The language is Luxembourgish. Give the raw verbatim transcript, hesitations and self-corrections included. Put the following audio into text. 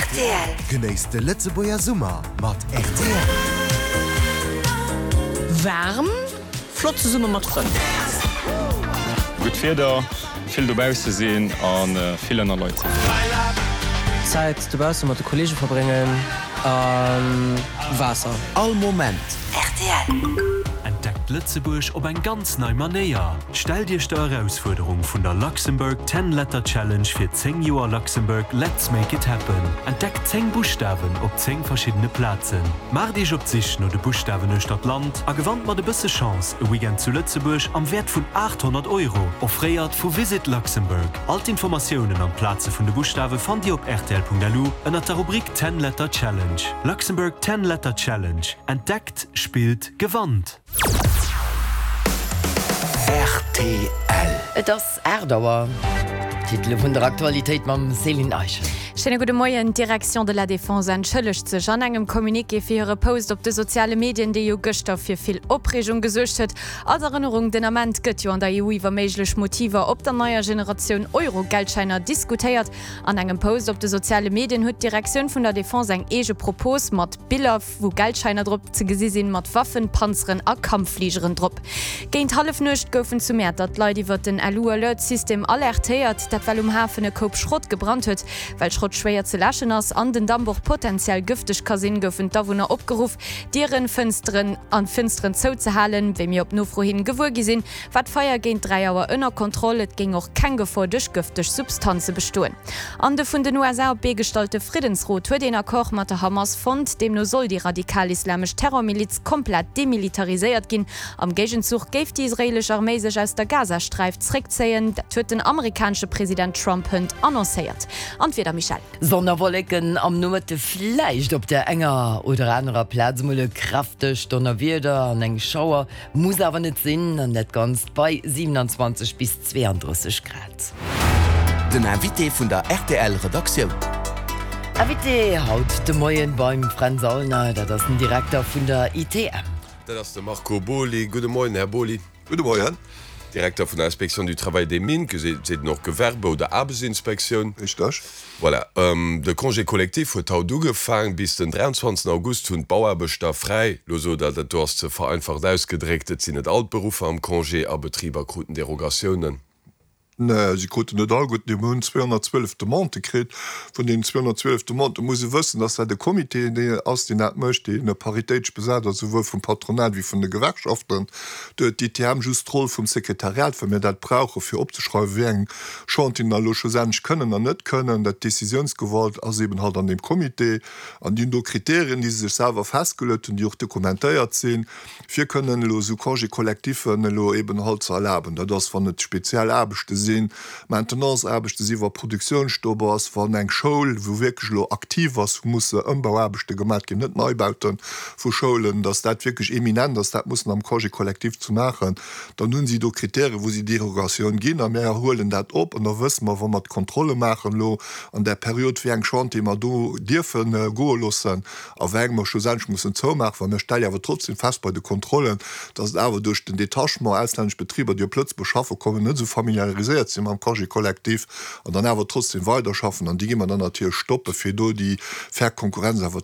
R T L. Genéisst de Lëtzebuerger Summer mat R T L. Waarm, flott zesumme mat Frënn. Gutt Wieder, vill dobausse sinn an vill ënner Leit sinn. Zäit dobausse mat de Kolleege verbréngen a Waasser. All Moment. R T L. Entdeckt Lëtzebuerg op eng ganz nei Manéier. Stellt Iech der Erausfuerderung vun der Luxembourg ten Letter Challenge fir zéng Joer Luxembourg Let's Make It Happen. Entdeckt zéng Buschtawen op zéng verschiddene Plazen. Maacht Iech op d'Sich no de Buschtawen uechter d'Land a gewannt mat e bësse Chance e Weekend zu Lëtzebuerg am Wäert vun achthonnert Euro, offréiert vu Visit Luxembourg. All d'Informatiounen an d'Plaze vun de Buschtawe fannt Dir op R T L Punkt L U ënner der Rubrik ten Letter Challenge. Luxembourg ten Letter Challenge. Entdeckt, spillt, gewannt. R T L. Et ass aacht Auer. Titele vun der Aktualitéit mam Céline Eichen. Schéine gudde Moien. D'Direction de la Défense entschëllegt sech an engem Communiqué fir hire Post op de soziale Medien, dee jo gëschter fir vill Opreegung gesuergt huet. Als Erënnerung, den Ament gëtt jo an der E U iwwer méiglech Motiver op der neier Generatioun Euro-Geldschäiner diskutéiert. An engem Post op de soziale Medien huet d'Direktioun vun der Defense eng eege Propos mat Biller, wou Geldschäiner drop ze gesi sinn, mat Waffen, Panzeren a Kampffligeren drop. Géint Hallefnuecht goufen zu Mäertert d'Leit iwwer den L U-Alert-System alertéiert, dat well um Hafen e Koup Schrott gebrannt huet. Well Schrott schwéier ze läschen ass an den Damp och potenziell gëfteg ka sinn, goufen d'Awunner opgeruff, Dieren, Fënsteren an Fënsteren zouzehalen. Wéi mir op Nofro hin gewuer gi sinn, war d'Feier géint dräi Auer ënner Kontroll. Et géing och keng Gefor duerch gëfteg Substanze bestoen. An de vun den U S A op d'Bee gestallte Friddensrot huet een Accord mat der Hamas fonnt. Deemno soll déi radikal-islamesch Terrormiliz komplett demilitariséiert ginn. Am Géigenzuch géif déi israeelesch Arméi sech aus der Gazasträif zréckzéien. Dat huet den amerikanesche President Trump hënt annoncéiert. An d'Wieder, Michèle. Sonn a Wolleken, am Nomëtte vläicht op der enger oder anerer Plaz mol e kräftegt Donnerwieder an eng Schauer, muss awer net sinn, an dat Ganzt bei siewenundzwanzeg bis zweeandrësseg Grad. Den Invité vun der R T L Redaktioun. Invité haut de Moien beim Fränz Aulner, dat ass den Direkter vun der I T M. Dat ass de Marco Boly. Gudde Moien, Här Boly. Gudde Moien. Direkter vun der Inspection du Travail des Mines, seet een och Gewerbe oder Aarbechtsinspektioun. Richteg. Voilà. Ähm, de Congé collectif huet haut ugefaangen. Bis den dräianzwanzegsten August hunn d'Bauaarbechter fräi. Lo sot Der, dat do ass ze vereinfacht ausgedréckt, et sinn net all d'Beruffer am Congé a Betriber kruten Derogatiounen. Nee, si kruten net all gutt. Mir hunn zweehonnertzwielef Demandë kritt. Vun deenen zweehonnertzwielef Demandë muss ee wëssen, dass dat e Comité deen ass, deen dat mécht, deen paritéitesch besat ass, souwuel vum Patronat wéi vun de Gewerkschaften. Do huet d'I T M just d'Roll vum Sekretariat, well mir dat brauche fir opzeschreiwen, wéi eng Chantieren da elo schlussendlech kënnen an net kënnen. Dat Decisiounsgewalt ass eben halt an deem Comité. An déi hunn do Kriterien, déi se sech selwer festgeluecht hunn, déi och dokumentéiert sinn, fir kënnen elo esou Congé-collectiffen elo eben halt ze erlaben. Dat ass, wann et speziell Aarbechte sinn, Maintenance-Aarbechte sinn, wa Produktiounsstopp ass, wann eng Schoul, wou wierklech elo aktiv ass, wou musse Ëmbauaarbechte gemaach ginn, net Neibaute vu Schoulen, dass dat wierklech eminent ass, dat mussen am Congé collectif ze maachen, dann hunn si do Kritären, wou si Derogatioun ginn a mir huelen dat op an da wësse mer, wa mer d'Kontrolle maachen elo an där Period, wéi eng Chantiere mer do dierfe goe loossen a wéi eng mer schlussendlech mussen zoumaachen. Well mir stelle awer trotzdem fest bei de Kontrollen, dass et awer duerch den Detachement auslännesch Betriber, déi op Lëtzebuerg schaffe kommen, net esou familiariséiert sinn mam Congé collectif an dann awer trotzdem weiderschaffen an déi gi mer dann natierlech stoppen, fir do déi fair Konkurrenz awer